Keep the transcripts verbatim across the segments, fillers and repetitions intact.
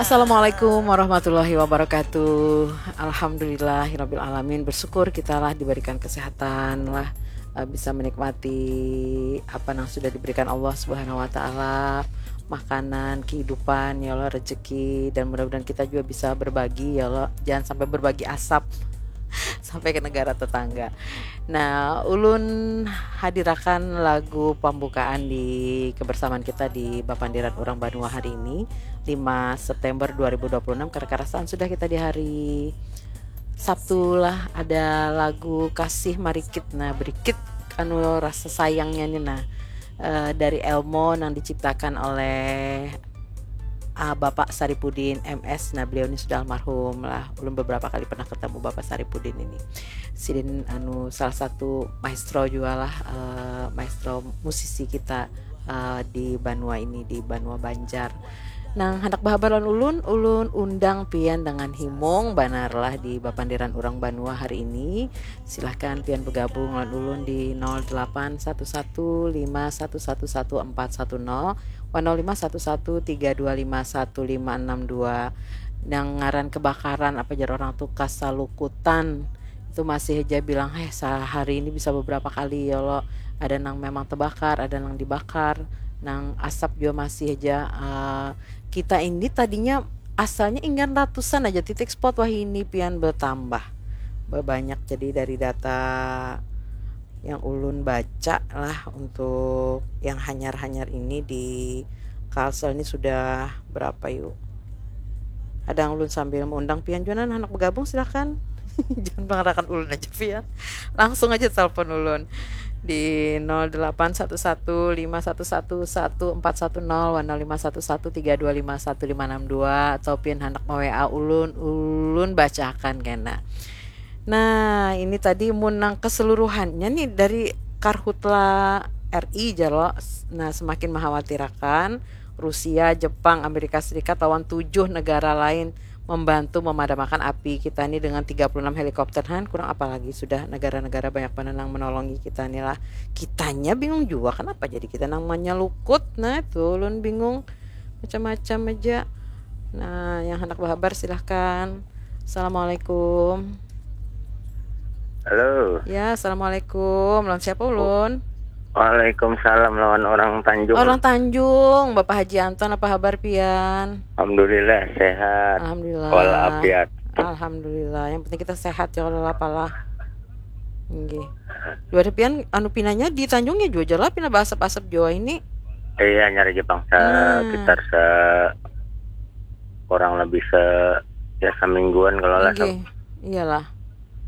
Assalamualaikum warahmatullahi wabarakatuh. Alhamdulillahirabbil alamin. Bersyukur kita lah diberikan kesehatan lah, eh, bisa menikmati apa yang sudah diberikan Allah Subhanahu wa taala, makanan, kehidupan, ya Allah, rezeki, dan mudah-mudahan kita juga bisa berbagi, ya Allah. Jangan sampai berbagi asap sampai ke negara tetangga. Nah, ulun hadirakan lagu pembukaan di kebersamaan kita di Bapandiran Urang Banua hari ini, lima September dua ribu dua puluh enam, karena karasaan sudah kita di hari Sabtu lah, ada lagu Kasih Marikit. Nah, berikit anu rasa sayangnya nih, nah, eh, dari Elmo yang diciptakan oleh, ah, Bapak Saripudin M S. Nah, beliau ini sudah almarhum lah. Ulun beberapa kali pernah ketemu Bapak Saripudin ini. Sidin anu salah satu maestro juga lah, eh, maestro musisi kita, eh, di banua ini, di banua Banjar. Nang handak bahabar lawan ulun, ulun undang pian dengan himung banar lah di Bapandiran Urang Banua hari ini. Silahkan pian begabung lawan ulun di nol delapan satu satu lima satu satu satu empat satu nol, wan nol lima satu satu tiga dua lima satu lima enam dua. Nang ngaran kebakaran, apa jar orang tu, kasalukutan, itu masih aja bilang, "Heh, sehari ini bisa beberapa kali ya lo." Ada nang memang terbakar, ada nang dibakar, nang asap juga masih aja, eh, kita ini tadinya asalnya inggan ratusan aja titik spot, wahini pian bertambah, berbanyak. Jadi dari data yang ulun baca lah, untuk yang hanyar-hanyar ini di Kalsel ini sudah berapa yuk? Ada yang ulun sambil mengundang pian juga, nah, anak bergabung, silahkan. Jangan mengarakan ulun aja pian. Langsung aja telepon ulun di nol delapan satu satu lima satu satu satu empat satu nol, wan nol lima satu satu tiga dua lima satu lima enam dua, atau pian handak me-W A ulun, ulun bacakan kena. Nah, ini tadi mun nang keseluruhannya nih dari Karhutla R I jalo. Nah, semakin mengkhawatirkan, Rusia, Jepang, Amerika Serikat lawan tujuh negara lain membantu memadamkan api kita ini dengan tiga puluh enam helikopter, han, kurang apa lagi sudah negara-negara banyak banar nang menolongi kita ni lah. Kitanya bingung jua kenapa jadi kita nang menyelukut. Nah, itu ulun bingung, macam-macam aja. Nah, yang hendak berhabar silahkan. Assalamualaikum. Halo. Ya, assalamualaikum. Lawan siapa ulun? Waalaikumsalam, lawan orang Tanjung. Orang Tanjung, Bapak Haji Anton, apa habar pian? Alhamdulillah sehat. Alhamdulillah. Walafiat. Alhamdulillah. Yang penting kita sehat ya, kalau apalah. Nggih. Dua pian anu pinanya di Tanjungnya jua lah, pina basap-asap jua ini. Iya, nyari Jepang sekitar se kurang lebih se ya semingguan kalau lah. Nggih. Iyalah.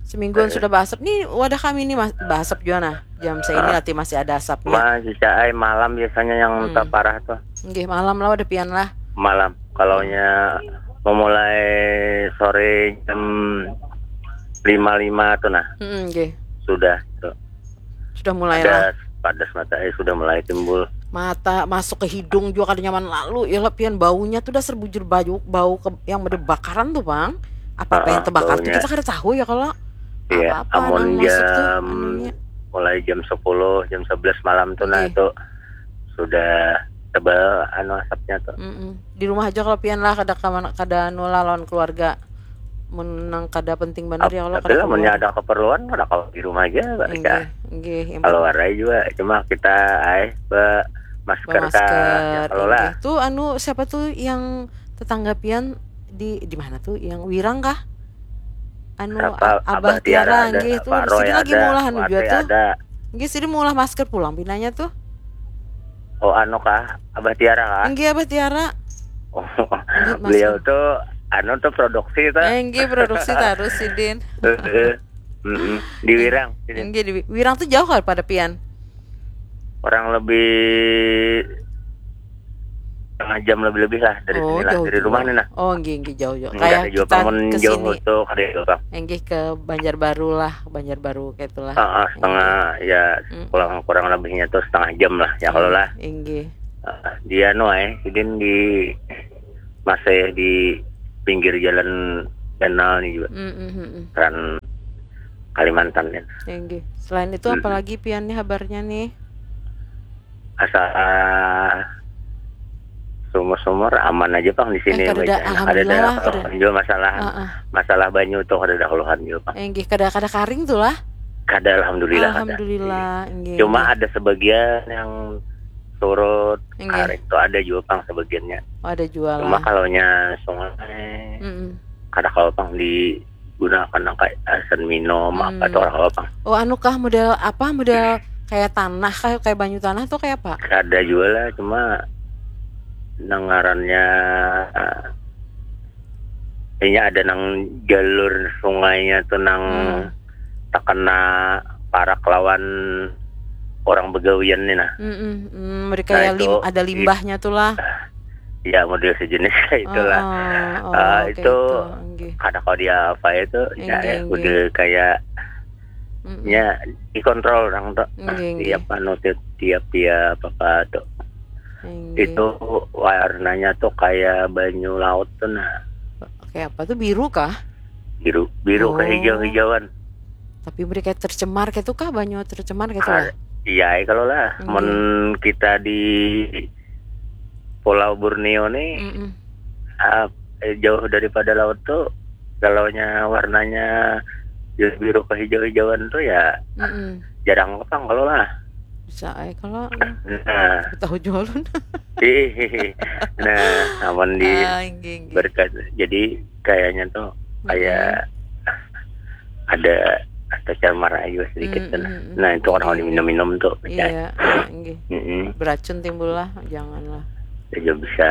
Semingguan sudah basap. Nih wadah kami ini mas basap jua nah. Jam saya ini lati masih ada asapnya. Masih caai malam biasanya yang Hmm. terparah tuh. Nggih, malam lah wadah pian lah. Malam. Kalaunya memulai sore jam lima lima tuh nah. Hmm, nggih. Sudah tuh. Sudah mulai lah. Padas, padas mata, eh, sudah mulai timbul. Mata masuk ke hidung juga kada nyaman lalu. Ya lah pian, baunya tuh dasar bujur bau, bau ke, yang bebakaran tuh, Bang. Apa-apa yang Ah, terbakar tuh baunya. Kita kada tahu ya kalau Iya, apa-apa amun nang masuk tuh jam anunya. Mulai jam sepuluh, jam sebelas malam tuh nah Nggih. Itu sudah tebal anu asapnya tuh. Mm-mm. Di rumah aja kalau pian lah, kada kamana, kada anu lah lawan keluarga. Mun nang kada penting banar ya kalau Tapi kada lah, munnya keluar. Ada keperluan, kada kalau di rumah aja, Pak. Nggih, nggih, yang Kalau warai juga, cuma kita ai be masker Masker, kah, ya, kalau lah. Nggih. Tuh anu siapa tuh yang tetangga pian di di mana tuh? Yang Wirang kah? Anu Apa, A- Abah Abah Tiara Tiara ada, nggih tuh. Pak Roy Sidin lagi ada, maulah anu Wate juga tuh. ada. Nggih, sidin maulah masker pulang pinanya tuh. Oh, anu kah? Abah Tiara kah? Nggih, Abah Tiara. Oh, Nggih, Mas. Beliau tuh anu tuh produksi tuh. Eh, nggih, produksi terus sidin. Heeh. Mm-mm. Di Wirang sini. Nggih, di Wi- Wirang tuh jauh kah pada pian? Kurang lebih setengah jam lebih-lebih lah dari Oh, sini lah, jauh dari juga. Rumah nih nah. Oh, nggih, nggih, jauh, jauh. Enggak Kayak ada juga kita bangun ke jauh sini. Tuh, kada jauh, Bang. Nggih, ke Banjarbaru lah, Banjarbaru kayak itulah. Ah, ah, setengah ya Mm. kurang kurang lebihnya tuh setengah jam lah ya kalau lah. Nggih. Ah, dia no eh, sidin di masih di pinggir jalan kanal nih juga. Mm, mm, mm, mm. Kan Kalimantan ya. Nggih. Selain itu Mm. Apalagi pian nih habarnya nih? Asa ah, Sumur-sumur aman aja pang di sini. Eh, kadada, alhamdulillah lah, kadada keluhan juga masalah. Masalah banyu tuh kadada keluhan juga pang. Enggih, kada, kada karing tuh lah. Kada, alhamdulillah, kada. Alhamdulillah, enggih. Cuma ada sebagian yang surut, karing tuh ada juga pang sebagiannya. Oh, ada juga lah. Cuma kalau nya sungai, kada kalau pang di gunakan nang kayak asan minum apa tuh orang apa. Oh, anu kah, model apa, model kayak tanah kah, kayak banyu tanah tuh kayak apa? Kada juga lah, cuma nang ngarannya, eh, kayaknya ada nang jalur sungainya tuh nang terkena parak lawan orang begawian nih nah. Mm-mm. Hmm, mereka nah, ya lim-, itu ada limbahnya tuh lah. Ya, model sejenis kayak itulah. Oh, oh, ah, itu kada kau dia apa itu, ya, udah kayak ya dikontrol orang tuh. Tiap anu, tiap, tiap, tiap apa tuh. Itu warnanya tuh kayak banyu laut tuh nah. Kayak apa tuh, biru kah? Biru, biru kehijau-hijauan. Tapi mereka tercemar kayak itu kah, banyu tercemar kayak itu lah? Iya, kalau lah. Mun kita di Pulau Borneo nih, ah, eh, jauh daripada laut tuh, kalaunya warnanya biru-biru kehijau-hijauan tuh ya jarang kepang kalau lah. Bisa ai kalau. Nah, tahu jual. Nah, aman di berkat. Jadi kayaknya tuh kayak ada tercemar aja sedikit tuh nah. Nah, itu orang diminum-minum tuh. Iya, iya, enggih. Beracun timbul lah, janganlah. Ya, bisa.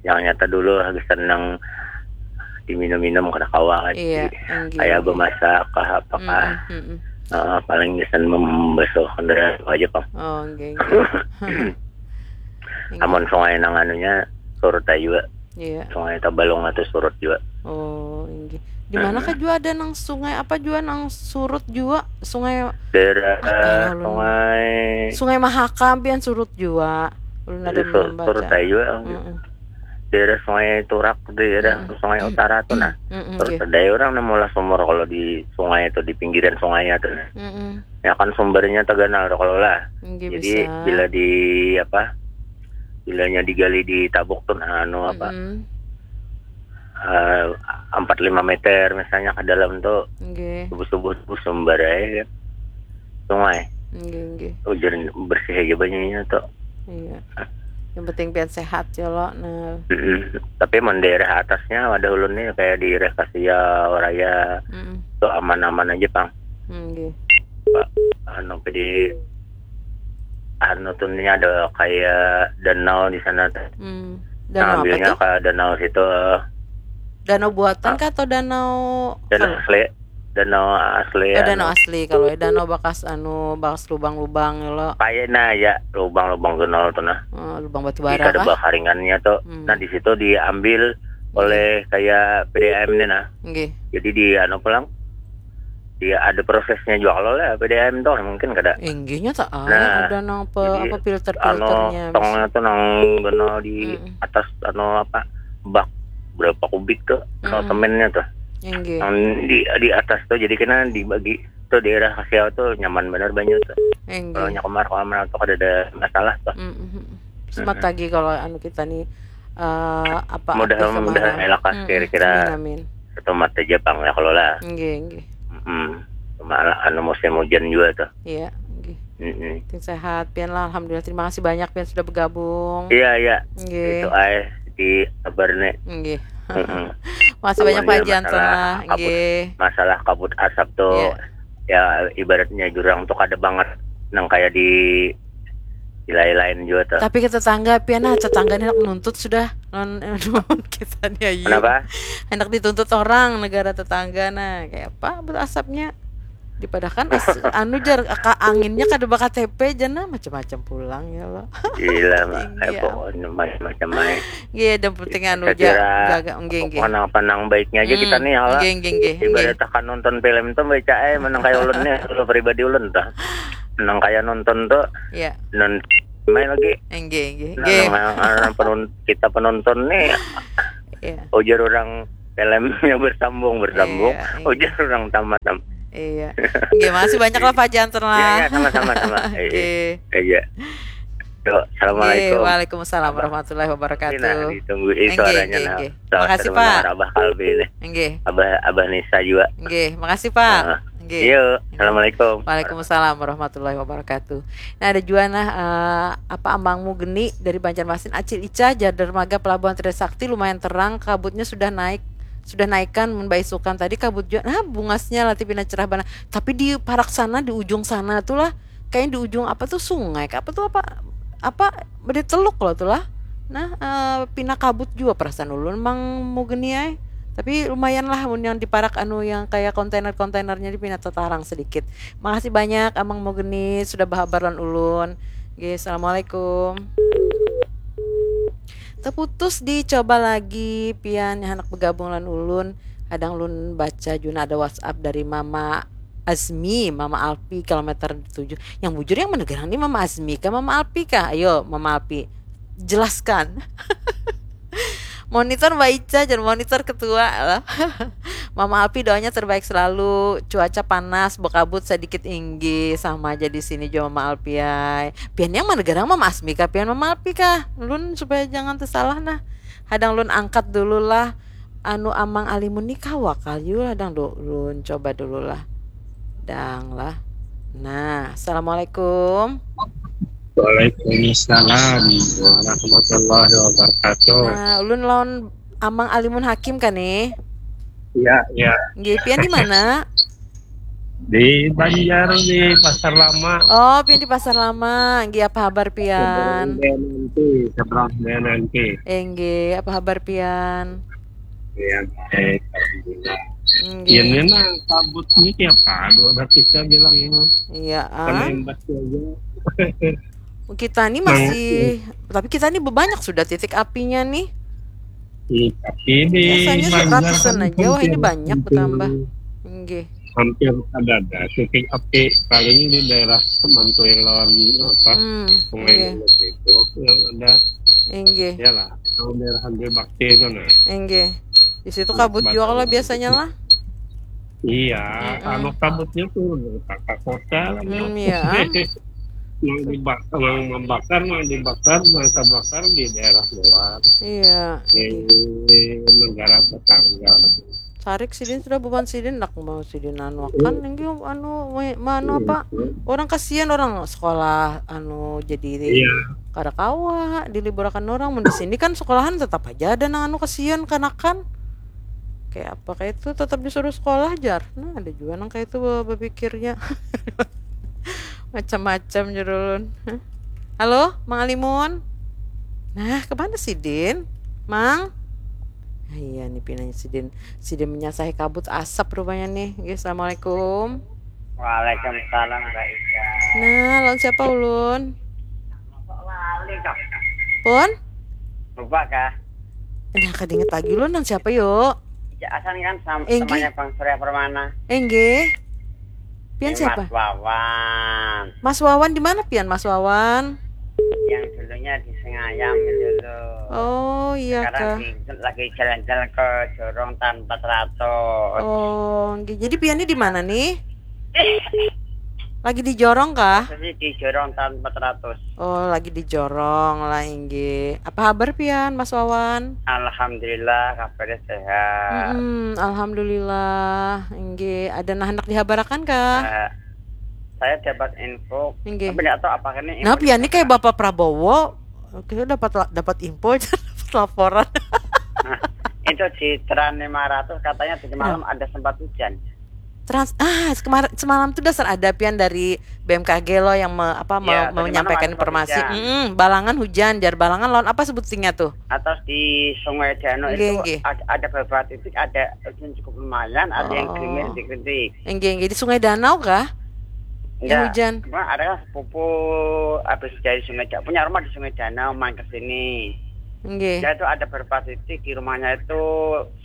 Yang nyata dulu lah, gasan nang diminum-minum kada kawa kan. Iya, enggih. Kayak bemasak kah, apakah. Heeh, paling gasan membasuh kendaraan aja pang. Oh, enggih, enggih. Amun sungai nang anunya surut aja juga. Iya. Sungai Tabalong atau surut juga. Oh, inggih. Di mana kah juga ada nang sungai apa juga nang surut juga? Sungai daerah apa ya, ulun? Sungai Mahakam pian surut juga. Ulun ada membaca. Surut aja juga. Daerah Sungai Turak, daerah Sungai Utara tuh nah. Surut ada orang nang maulah sumur kalau di sungai itu, di pinggiran sungainya tuh nah. Ya kan sumbernya terganal tuh kalau lah. Jadi bisa. Bila di apa? Bilanya digali di tabuk tuh nah, anu apa, eh, empat lima meter misalnya ke dalam tuh, subuh-subuh tuh sumber aja kan. Sungai. Ujar bersih aja banyunya tuh. Iya. Yang penting pian sehat ya lo. Nah. Tapi mun daerah atasnya ada ulun nih kayak di daerah Kasia, Raya, tuh aman-aman aja pang. Pak, anu, di anu tuh nih ada kayak danau di sana tuh. Nah, ambilnya ke danau situ. Danau buatan kah atau danau? Danau asli. Danau asli. Eh, danau asli kalau ya, danau bakas anu, bakas lubang-lubang lo. Kayaknya ya lubang-lubang kenal tuh nah. Oh, lubang batu bara kah? Ada bakaringannya tuh. Nah, di situ diambil oleh kayak P D A M nih nah. Jadi di anu pulang dia ada prosesnya juga kalau lah P D A M tuh mungkin kada. Inggihnya tak ada, ada nang pe, apa, filter-filternya. Tongnya tuh nang benar di atas anu apa, bak berapa kubik tuh, semennya tuh. Inggih. Nang di, di atas tuh jadi kena dibagi tuh daerah Kasiau tuh nyaman bener banyu tuh. Kalau nya kemar kemar tuh kada ada masalah tuh. Semat lagi kalau anu kita nih, eh, apa, mudah-mudahan elak kira-kira. Amin, amin. Satu mata aja pang ya kalau lah. Nggih, nggih. Cuma anu musim hujan juga tuh. Iya, nggih. Penting sehat pian lah, alhamdulillah. Terima kasih banyak pian sudah bergabung. Iya, iya. Nggih. Itu ai di kabar nih. Nggih. Makasih banyak Pak Jansen lah. Nggih. Masalah kabut asap tuh. Iya. Ya ibaratnya jurang tuh kada banget nang kayak di wilayah lain juga tuh. Tapi ke tetangga pian nah, tetangga ini hendak nuntut sudah non kita nih ayu. Kenapa? Hendak dituntut orang negara tetangga nah, kayak apa berasapnya? Dipadahakan anu jar, anginnya kada ba-K T P jar nah, macam-macam pulang ya lo. Gila, Mak. Pokoknya macam-macam aja. Iya, dan penting anu ja, jaga, nggih, nggih. Pokoknya apa nang baiknya aja kita nih, Allah. Nggih, nggih, nggih. Ibarat akan nonton film tuh baca eh menang kayak ulun nih, kalau pribadi ulun tuh. Menang kayak nonton tuh. Iya. Non main lagi. Nggih, nggih, nggih. Nah, penonton, kita penonton nih. Iya. Ujar orang filmnya bersambung, bersambung. Iya, iya. Ujar orang tamat. Iya. Nggih, makasih banyak lah Pak Jansen lah. Iya, iya, sama-sama, sama. Iya. Iya. Yo, assalamualaikum. Waalaikumsalam warahmatullahi wabarakatuh. Nah, ditunggu ini suaranya nah. Makasih Pak. Abah Kalbi ini. Nggih. Abah Abah Nisa juga. Nggih, makasih Pak. Nggih. Yo, assalamualaikum. Waalaikumsalam warahmatullahi wabarakatuh. Nah, ada juga nah uh, apa amangmu Geni dari Banjarmasin, Acil Ica, Jadar Maga Pelabuhan Trisakti, lumayan terang, kabutnya sudah naik, sudah naikan mun baisukan tadi kabut juga. Nah, bungasnya latih pina cerah bana. Tapi di parak sana, di ujung sana tuh lah, kayaknya di ujung apa tuh sungai, apa tuh apa apa beda teluk loh tuh lah. Nah, uh, pina kabut juga perasaan ulun mang mugeni ay. Tapi lumayan lah mun yang diparak anu yang kayak kontainer-kontainernya di pina tetarang sedikit. Makasih banyak Amang Mugeni sudah bahabar lan ulun. Oke, assalamualaikum. Terputus, dicoba lagi pian yang anak bergabung lan ulun. Kadang ulun baca juga ada WhatsApp dari Mama Azmi, Mama Alpi kilometer tujuh. Yang bujur yang mana garang nih, Mama Azmi kah, Mama Alpi kah? Ayo, Mama Alpi, jelaskan. Monitor Mbak Ica, jangan monitor ketua lah. Mama Alpi, doanya terbaik selalu. Cuaca panas, berkabut sedikit, inggi, sama aja di sini juga Mama Alpi ay. Pian yang mana garang, Mama Azmi kah pian Mama Alpi kah? Lun supaya jangan tersalah nah. Hadang lun angkat dulu lah. Anu Amang Alimun ni kawa kah yu lah dang, lun coba dulu lah dang lah. Nah, assalamualaikum. Waalaikumsalam warahmatullahi wabarakatuh. Nah, ulun lawan Amang Alimun Hakim kan nih? Iya, iya. Nggih, pian di mana? Di Banjar, di Pasar Lama. Oh, pian di Pasar Lama. Nggih, apa habar pian? Nanti, nanti. Enggih, apa habar pian? Iya, baik, alhamdulillah. Ini nah kabut ini tiap hari ada kita bilang ini. Iya, ah. Imbas aja. Kita nih masih, tapi kita nih banyak sudah titik apinya nih. Iya, tapi di biasanya ratusan aja, wah ini banyak bertambah. Enggih. Hampir ada ada titik api paling di daerah Semantuy lawan apa hmm, Sungai iya. Itu yang ada. Enggih. Iyalah, kalau daerah Hanti Bakti itu nah. Enggih. Di situ kabut juga kalau biasanya lah. Iya, mm -mm. Anu kabutnya tuh kota-kota lah. Hmm, iya. Yang dibakar, yang membakar, yang dibakar, yang terbakar di daerah luar. Iya. Di negara tetangga. Sarik sidin sudah bukan sidin nak mau sidin anu akan hmm. Anu anu apa orang kasihan orang sekolah anu jadi iya. Kada kawa diliburakan orang mun di sini kan sekolahan tetap aja ada nang anu kasihan kanakan kayak apa kayak itu tetap disuruh sekolah jar nah ada juga nang kayak itu berpikirnya macam-macam jurulun halo Mang Alimun nah kemana sidin Mang ah, iya nih pinanya sidin sidin menyasahi kabut asap rupanya nih Oke, assalamualaikum Waalaikumsalam Mbak Ika nah lawan siapa ulun Kok lali kok pun Lupa kah? Nah, kada inget lagi lo nang siapa yo? Asan kan sama Enggih. Temannya Bang Surya Permana. Enggih. Pian siapa? Mas Wawan. Mas Wawan di mana pian Mas Wawan? Yang dulunya di Sengayam dulu. Oh iya Sekarang kah. Di, lagi jalan-jalan ke Jorong Tan empat ratus. Oh, enggih. Jadi pian ini di mana nih? Lagi di jorong kah? Di jorong tahun empat ratus. Oh, lagi di jorong lah inggi. Apa habar pian, Mas Wawan? Alhamdulillah, kabarnya sehat. Hmm, alhamdulillah, inggi. Ada nah hendak dihabarakan kah? Uh, saya dapat info. Inggi. Tapi tidak tahu apakah ini. Nah, pian ini kayak Bapak Prabowo. Oke, dapat dapat info, dapat laporan. Nah, itu di Tran lima ratus katanya tadi malam ya. Ada sempat hujan. Trans ah kemarin semalam tuh dasar ada pian dari B M K G loh yang me, apa ya, menyampaikan informasi. Mm -mm, balangan hujan, jar balangan lawan apa sebutingnya tuh? Atas di Sungai Dano okay, itu okay. Ada, ada beberapa titik ada hujan cukup lumayan, ada oh. Yang gerimis dikit. Enggak, enggak di Sungai Danau kah? Enggak. Yang hujan. Cuma ada kan sepupu habis dari Sungai Danau, punya rumah di Sungai Danau, main ke sini. Enggak. Dia itu ada beberapa titik di rumahnya itu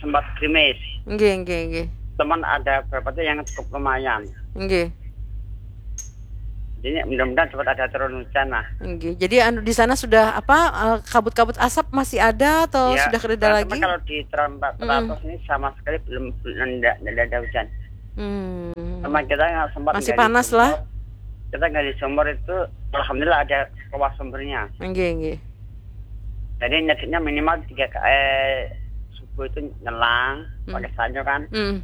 sempat gerimis. Enggak, enggak, enggak. Teman ada berapa tuh yang cukup lumayan. Nggih. Jadi mudah-mudahan cepat ada turun hujan lah. Nggih. Jadi anu di sana sudah apa eh, kabut-kabut asap masih ada atau ya, sudah kereda lagi? Kalau di Trump empat ratus hmm. Ini sama sekali belum belum ada, ada hujan. Hmm. Sama kita nggak sempat masih panas lah. Kita ngaji sumur itu, alhamdulillah ada keluar sumbernya. Nggih, nggih. Jadi nyekiknya minimal tiga ka-, eh, subuh itu nyelang, hmm, pakai sanyo kan. Hmm.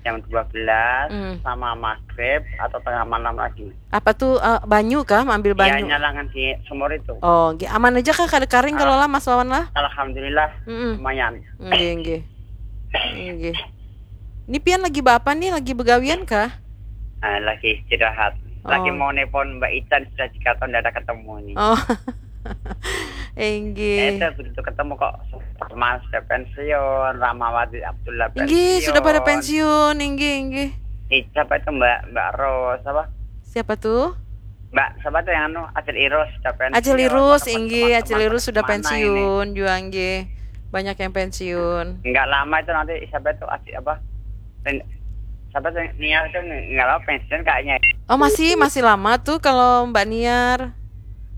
Jam dua belas, hmm, sama maghrib atau tengah malam lagi. Apa tuh, eh, banyu kah? Ambil banyu? Iya, nyelangan di sumur itu. Oh, nggih. Aman aja kah? Kada karing kalau lah, Mas Wawan lah? Alhamdulillah, mm-mm, lumayan. Nggih, nggih. Nggih. Ini pian lagi baapa nih? Lagi begawian kah? Ah, lagi istirahat. Lagi, oh, mau nelpon Mbak Ican, sudah tiga tahun tidak ada ketemu ini. Oh. Inggih. Eh, itu begitu ketemu kok, Mas sudah pensiun, Ramawati Abdullah pensiun. Inggih, sudah pada pensiun, inggih, inggih. Eh, siapa itu Mbak, Mbak Ros, apa? Siapa tuh? Mbak, siapa tuh yang anu, Acil Irus sudah pensiun. Acil Irus, atau inggih, teman-teman Acil Irus sudah mana ini? Pensiun juga, inggih. Banyak yang pensiun. Nggak lama itu nanti siapa itu, Acil apa? Pen-, siapa tuh, Niar tuh nggak lama pensiun kayaknya. Oh, masih, masih lama tuh kalau Mbak Niar.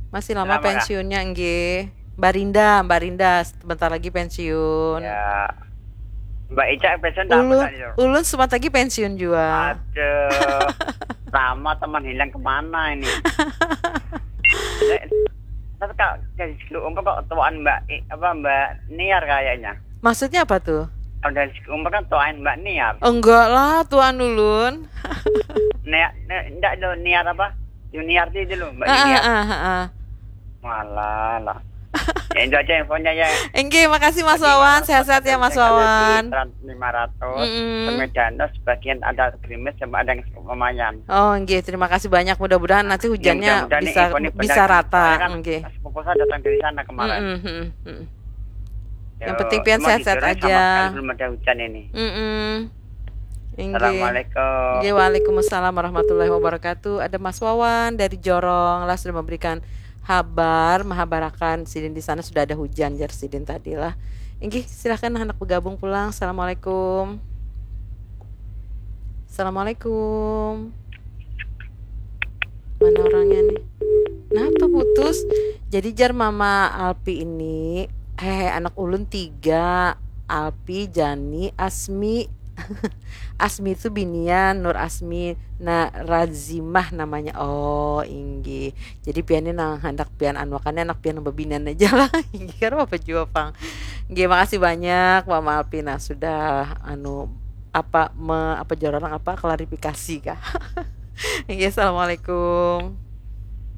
Masih lama. Lama kah? Pensiunnya, nggih. Mbak Rinda, Mbak Rinda sebentar lagi pensiun. Ya. Mbak Ica pensiun tak? Ulun, apa tadi tuh? Ulun sebentar lagi pensiun juga. Aduh. Lama teman hilang kemana ini? Eh, tapi kak, jadi dulu kok tuaan Mbak I-, apa, Mbak Niar kayaknya. Maksudnya apa tuh? Kalau dari segi umur kan tuaan Mbak Niar. Enggak lah, tuaan ulun. Niar, ni-, ndak dulu, Niar apa? Junior ti dulu, Mbak Niar. Ah, ah, ah, ah. Malah lah. Ya, itu aja infonya ya. Enggih, makasih Mas Wawan. Sehat-sehat ya Mas Wawan. Lima ratus. Mm-mm. Semedan, oh, sebagian ada gerimis sama ada yang lumayan. Oh, enggih, terima kasih banyak. Mudah-mudahan nanti hujannya bisa rata. Soalnya kan sepupu saya datang dari sana kemarin. Mm-mm, mm-mm, mm-mm. Yang penting pian sehat-sehat aja. Sama sekali belum ada hujan ini. Mm-mm. Inggih. Assalamualaikum. Inggih, waalaikumsalam warahmatullahi wabarakatuh. Ada Mas Wawan dari Jorong lah, sudah memberikan habar, mahabarakan sidin di sana sudah ada hujan, jar sidin tadi lah. Inggih, silahkan handak bergabung pulang. Assalamualaikum. Assalamualaikum. Mana orangnya nih? Nah, tuh putus. Jadi jar Mama Alpi ini, hehe, anak ulun tiga. Alpi, Jani, Asmi. Asmi itu binian, Nur Asmi, nah, Razimah namanya. Oh, inggih. Jadi pian ini nang handak pian anuakannya anak pian nang bebinian aja lah. Inggih, kan apa jua pang. Inggih, makasih banyak Mama Alpi, nah, sudah anu, apa, me-, apa jar orang, apa, klarifikasi kah? Inggih, assalamualaikum.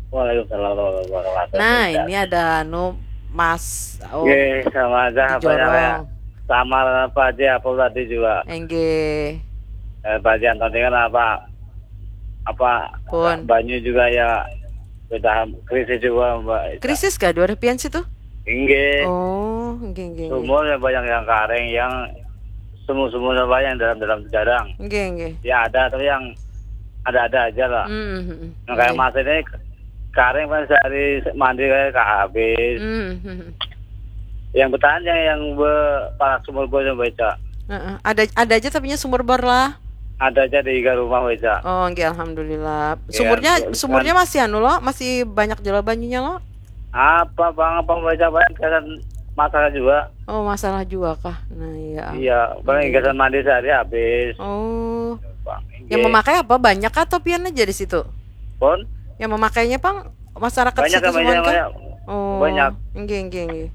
Waalaikumsalam warahmatullahi wabarakatuh. Nah, ini ada anu, Mas, oh, inggih, sama aja, di apa namanya, Jorong. Sama lah Pak Haji apa tadi juga. Inggih. Eh, Pak Haji Antoni kan apa, apa, pun, banyu juga ya, sudah krisis juga, Mbak. Krisis kah dua ribu situ? Inggih. Oh, inggih, inggih, inggih. Sumur yang banyak yang karing, yang sumur-sumur apa yang dalam-dalam jarang. Inggih, inggih. Ya ada, tapi yang ada-ada aja lah. Hmm, hmm, hmm. Yang kayak, inggih, Mas ini karing paling sehari mandi kayak kah habis. Hmm, hmm, hmm. Yang bertahan yang, yang be-, parak sumur bor yang baca. Heeh. Ada, ada aja tapinya sumur bor lah. Ada aja di iga rumah baca. Oh, nggih, alhamdulillah. Ya, sumurnya, sumurnya masih anu lo, masih banyak jua banyunya lo? Apa bang, apa baca banyak gasan masalah juga. Oh, masalah juga kah? Nah, iya. Iya, paling, iya, gasan mandi sehari habis. Oh. Bang, yang inggih, memakai apa? Banyak atau pian aja di situ? Pun? Yang memakainya pang masyarakat banyak, situ yang semua banyak, kah? Banyak. Oh, banyak. Inggih, inggih, inggih.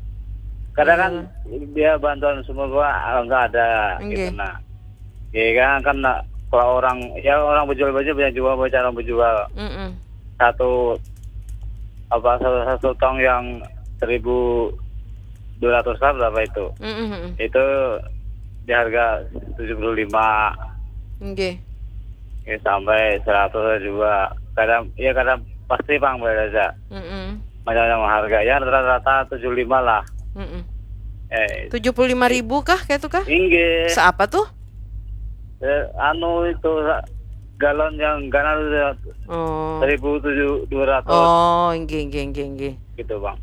Kadang kan, iya, dia bantuan semua gua, ah, nggak ada, inggih, gitu, nah. Ya kan, kan, nah, kalau orang, ya, orang berjual baju banyak juga, banyak orang berjual. Mm-mm. Satu, apa, satu, satu tong yang seribu dua ratus lah berapa itu? Mm-mm. Itu di harga tujuh puluh lima. Nggih. Ya, sampai seratus juga. Kadang, ya, kadang pasti pang beda aja. Mm-mm. Macam-macam harga. Ya, rata-rata tujuh lima lah. Mm-mm. Eh, tujuh puluh lima ribu kah, kayak itu kah? Inggih. Seapa tuh? Eh, anu itu, sa-, galon yang ganar itu, oh, seribu tujuh, dua ratus. Oh, inggih, inggih, inggih, inggih. Gitu, Bang.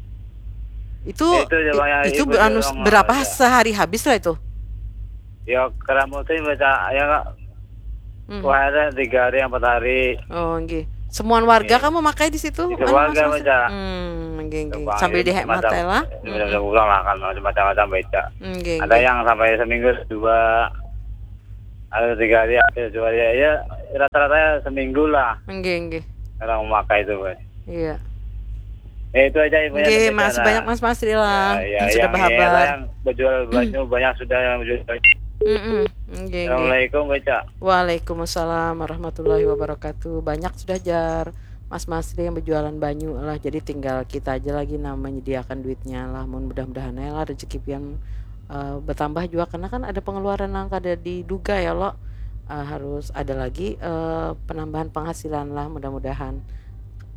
Itu, ya, itu aja, Bang, yang itu ibu anu, dorong berapa aja sehari habis lah itu? Ya, keramutin baca, ya, Kak. Hmm. Wah, ada tiga hari, empat hari. Oh, nggih. Semuaan warga, nggih, kamu makai di situ? Di anu, warga, Mas, Mas? Baca. Hmm, nggih, nggih. Coba, sambil ya, dihemat macam, ya lah. Macam, hmm, pulang lah, kan, macam-macam baca. Nggih, ada nggih, yang sampai seminggu dua, ada tiga hari, ada dua hari. Ya, rata-rata seminggu lah. Nggih, nggih. Orang memakai itu, Bos. Iya. Ya, itu aja ibunya. Oke, makasih banyak Mas Masri lah. Ya, ya, yang sudah berhabar. Yang berjual banyu banyak sudah yang berjual banyu. Mm-mm. Oke, oke. Assalamualaikum, Beca. Waalaikumsalam warahmatullahi wabarakatuh. Banyak sudah jar Mas Masri yang berjualan banyu lah. Jadi tinggal kita aja lagi nah menyediakan duitnya lah. Mun mudah-mudahan ya lah rezeki pian uh, bertambah juga karena kan ada pengeluaran yang kada diduga ya lo. Uh, harus ada lagi uh, penambahan penghasilan lah mudah-mudahan.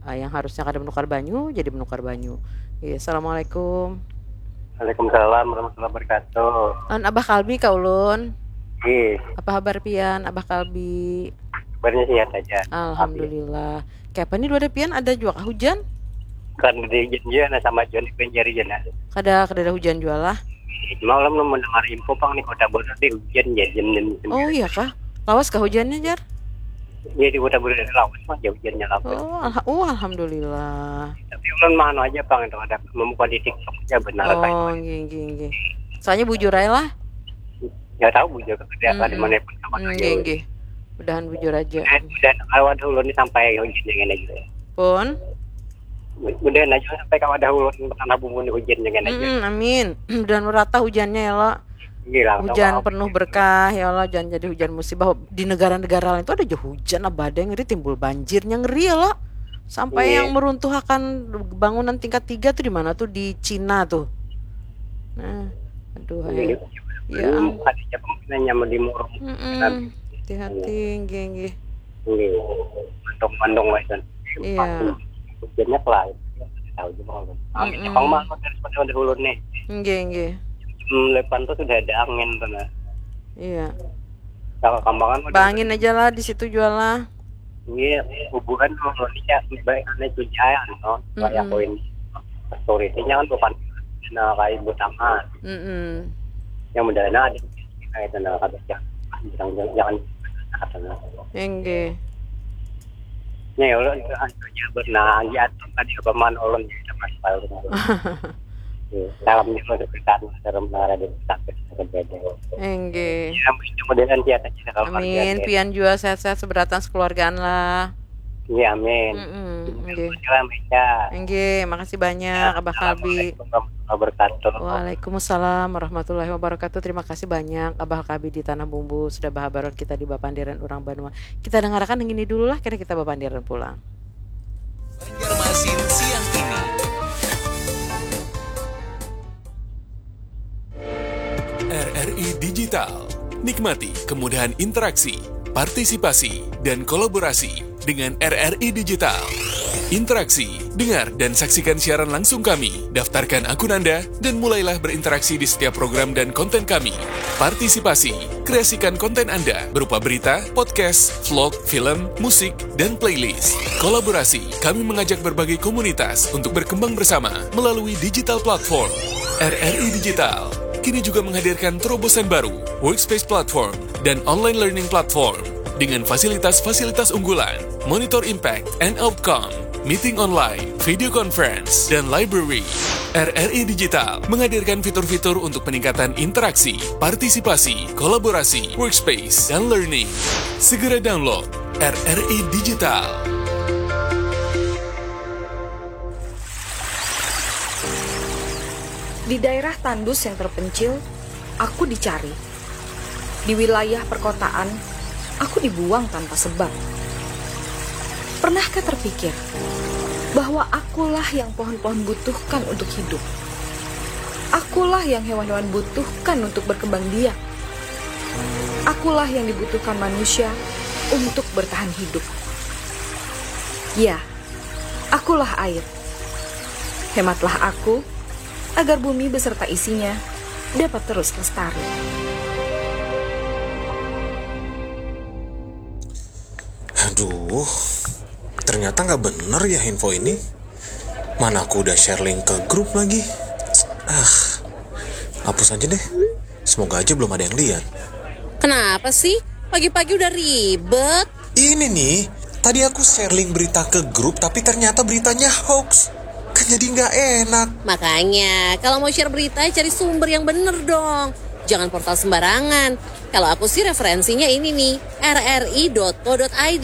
Uh, yang harusnya kada menukar banyu jadi menukar banyu. Iya, assalamualaikum. Waalaikumsalam warahmatullahi wabarakatuh. An Abah Kalbi ka ulun. Ih, Apa habar pian Abah Kalbi? Kabarnya sehat aja. Alhamdulillah. Kayak apa nih dua pian ada juga kah hujan? Kan di hujan dia nah sama John di penjari jana. Kada kada ada hujan juga lah. Malam lu mendengar info pang nih Kota Bogor di hujan ya jam enam. Oh iya kah? Lawas kah hujannya jar? Ya di Kota Bogor ada lawas mah jauh hujannya lawas. Oh, alha- oh alhamdulillah. Tapi ulun mah anu aja pang itu ada membuka di TikTok aja benar kayak. Oh, nggih nggih nggih. Soalnya bujur aja lah. Nggak tahu bujur kerja ada Mm-mm. mana pun sama Hmm, nggih nggih. Mudahan bujur aja. Dan kalau ada ulun ini sampai hujan yang enak juga. Pun. Mudahan aja sampai kalau ada ulun tanah bumbu ini hujan yang enak juga. Mm-mm, amin. Mudahan merata hujannya ya lo. Gila, Hujan kalau penuh berkah ya Allah, jangan jadi hujan musibah. Di negara-negara lain itu ada aja hujan, abadai, ngeri, timbul banjirnya, ngeri ya lo. Sampai Iya. Yang meruntuhkan bangunan tingkat tiga tuh di mana tuh, di Cina tuh. Nah, aduh Iya. ya. Ya, Belum ada siapa mungkin yang nyaman di murung. Mm-mm. Hati-hati, nggih nggih. Ini mandong-mandong lah itu. Iya. Hujannya pelan. Tahu juga kalau. Amin. Mm-mm. Jepang mah daripada udah ulun nih. Nggih nggih. Jam delapan tuh sudah ada angin tuh nah. Iya. Kalau kambangan mah Bangin aja lah di situ jual lah. Iya, kuburan kalau ini ya baik aneh tuh jaya no. Kayak Mm-mm. koin story-nya kan bukan nah kayak butangan. Mm-mm. Yang mudah nah ada kayak itu nah kata jangan jangan jangan kata nah. Enggih. Nya ya Allah itu aja benar aja tuh tadi apa man ulun ya sama sekali. Iya, salam juga untuk kita dalam menara di sampai berbeda. Enggih. Ya, mudah-mudahan sehat aja kalau Amin. keluarga. Pian juga sehat-sehat seberatan sekeluargaan lah. Iya, amin. Mm-mm, enggih. Salam ya. Enggih, makasih banyak Abah Kalbi. Assalamualaikum warahmatullahi wabarakatuh. Waalaikumsalam warahmatullahi wabarakatuh. Terima kasih banyak Abah Kalbi di Tanah Bumbu sudah bahabaran kita di Bapandiran Urang Banua. Kita dengarkan yang ini dulu lah, kira kita bapandiran pulang. Banjarmasin siang ini. R R I Digital. Nikmati kemudahan interaksi, partisipasi, dan kolaborasi dengan R R I Digital. Interaksi, dengar dan saksikan siaran langsung kami. Daftarkan akun Anda dan mulailah berinteraksi di setiap program dan konten kami. Partisipasi, kreasikan konten Anda berupa berita, podcast, vlog, film, musik, dan playlist. Kolaborasi, kami mengajak berbagai komunitas untuk berkembang bersama melalui digital platform. R R I Digital kini juga menghadirkan terobosan baru, Workspace Platform dan Online Learning Platform dengan fasilitas-fasilitas unggulan, monitor impact and outcome, meeting online, video conference, dan library. R R I Digital menghadirkan fitur-fitur untuk peningkatan interaksi, partisipasi, kolaborasi, workspace, dan learning. Segera download R R I Digital. Di daerah tandus yang terpencil, aku dicari. Di wilayah perkotaan, aku dibuang tanpa sebab. Pernahkah terpikir bahwa akulah yang pohon-pohon butuhkan untuk hidup? Akulah yang hewan-hewan butuhkan untuk berkembang biak. Akulah yang dibutuhkan manusia untuk bertahan hidup. Ya, akulah air. Hematlah aku, agar bumi beserta isinya dapat terus lestari. Aduh, ternyata nggak bener ya info ini. Mana aku udah share link ke grup lagi. Ah, hapus aja deh. Semoga aja belum ada yang lihat. Kenapa sih? Pagi-pagi udah ribet. Ini nih, tadi aku share link berita ke grup tapi ternyata beritanya hoax. Kan jadi nggak enak. Makanya, kalau mau share berita, cari sumber yang bener dong. Jangan portal sembarangan. Kalau aku sih referensinya ini nih, R R I dot co dot I D.